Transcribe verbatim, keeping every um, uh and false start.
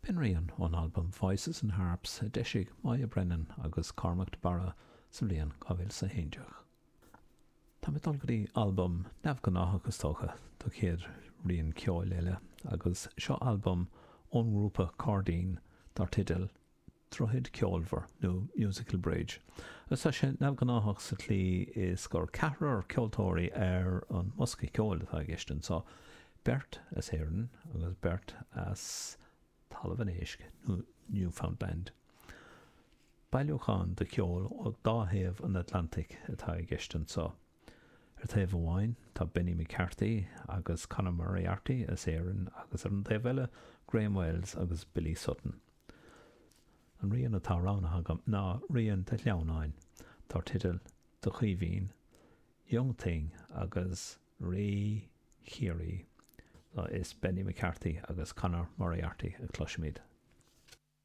B'in rian ón albam Voices and Harps a d'eisigh Moya Brennan agus Cormac de Barra sa bhliain dhá mhíle is a haon déag. Tá mé ag dul go dtí albam neamhghnáthach is dócha do chéad rian ceoil eile agus seo albam ón ngrúpa Cairdín dar teideal Droichead Ceolmhar nó Musical Bridge. Agus tá sé neamhghnáthach sa tslí is gur ceathrar ceoltóirí ar an mbosca ceoil atá i gceist anseo, beirt as Éirinn agus beirt as Talamh an Éisc nó Newfoundland. Bailiúchán de cheol ó dá thaobh an Atlantaigh atá i gceist anseo. Ar thaobh amháin tá Benny McCarthy agus Conor Moriarty as Éirinn agus ar an taobh eile Graham Wells agus Billy Sutton. An rian atá roghnaithe agam ná rian de shleamhnáin dar teideal Do Chaoimhín, Young Thing agus Rí Chiarraí. Is Benny McCarthy agus Conor Moriarty a chloisimid.